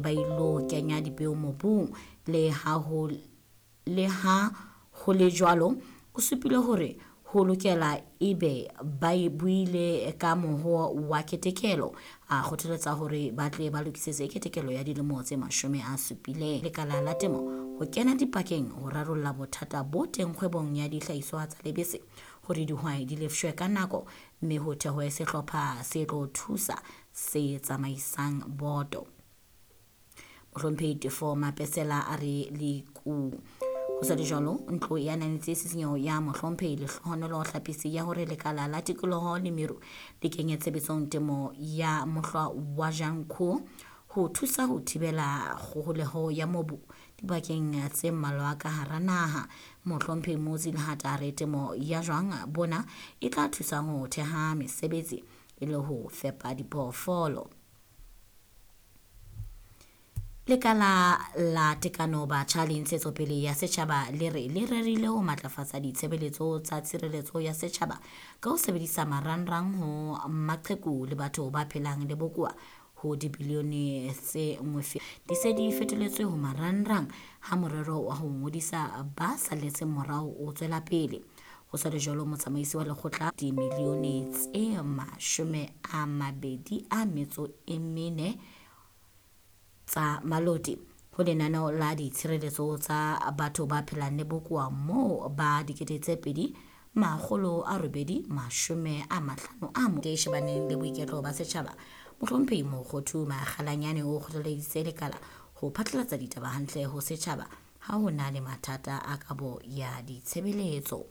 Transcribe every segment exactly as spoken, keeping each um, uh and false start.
ba ilo kenya dipeo mobung. Le ha ho le ha ho le jwalo, o supile hore ho lokela ebe ba e buile ka moho wa ketekelo. A kgothaletsa hore ba tle ba lokisetse ketekelo ya dilemo tse mashome a supileng. Lekala la temo ho kena dipakeng ho rarolla bothata bo teng kgwebong ya dihlahiswa tsa lebese hore dihwai di lefshwe ka nako, mme ho thehwe sehlopha se tlo thusa se tsamaisang boto. Mohlomphehi Tefo Mapesela a re leku. Ho sa le jwalo, ntlo e ananetse tshisinyo ya mohlomphehi Lehlohonolo Hlapisi ya hore lekala la tikoloho le meru le kenye tshebetsong temo ya mohlwa wa Janko ho thusa ho thibela kgoholeho ya mobu dibakeng tse mmalwa ka hara naha. Mohlomphehi Muzi Lehata a re temo ya jwang bona e tla thusa ho theha mesebetsi e le ho fepa diphoofolo. Lekala la Tekano Batjha le Ntshetsopele ya Setjhaba le re le rerile ho matlafatsa ditshebeletso tsa tshireletso ya setjhaba ka ho sebedisa marangrang ho maqheku le batho ba phelang le bokowa ho dibilione tse nngwe di se di fetoletswe ho marangrang ha morero wa ho ngodisa ba salletseng morao o tswela pele. Ho sa le jwalo, motsamaisi wa lekgotla dimilione tse mashome a mabedi a metso e mene tsa Maloti ho lenaneo la ditshireletso tsa batho ba phelang le bokowa moo ba dikete tse pedi makgolo a robedi mashome a mahlano a mo shebaneng le boiketlo ba setjhaba. Mohlomphehi Mokgothu Makgalanyane o kgothaleditse lekala ho phatlalatsa ditaba hantle ho setjhaba ha ho na le mathata a kabo ya ditshebeletso.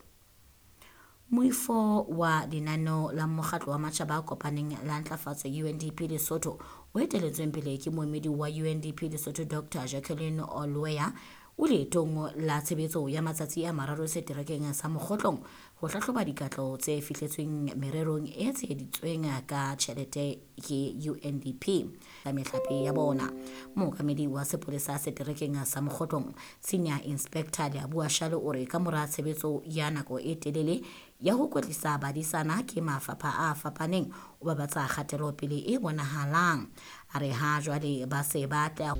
Moifo wa lenaneo la mokgatlo wa matjhaba a kopaneng la ntlafatso U N D P Lesotho o eteletsweng pele ke moemedi wa U N D P Lesotho Doctor Jacqueline Olweya o leetong la tshebetso ya matsatsi a mararo seterekeng sa Mokgotlong ho hlahloba dikatleho tse fihletsweng mererong e tsheheditsweng ka tjhelete ke U N D P ka mehlape ya bona. Mookamedi wa sepolesa seterekeng sa Mokgotlong Senior Inspector Leabua Shale o re ka mora tshebetso ya nako e telele ya ho kwetlisa badisana ke mafapha a fapaneng o babatsa kgatelopele e bonahalang. A re ha jwale ba se ba tla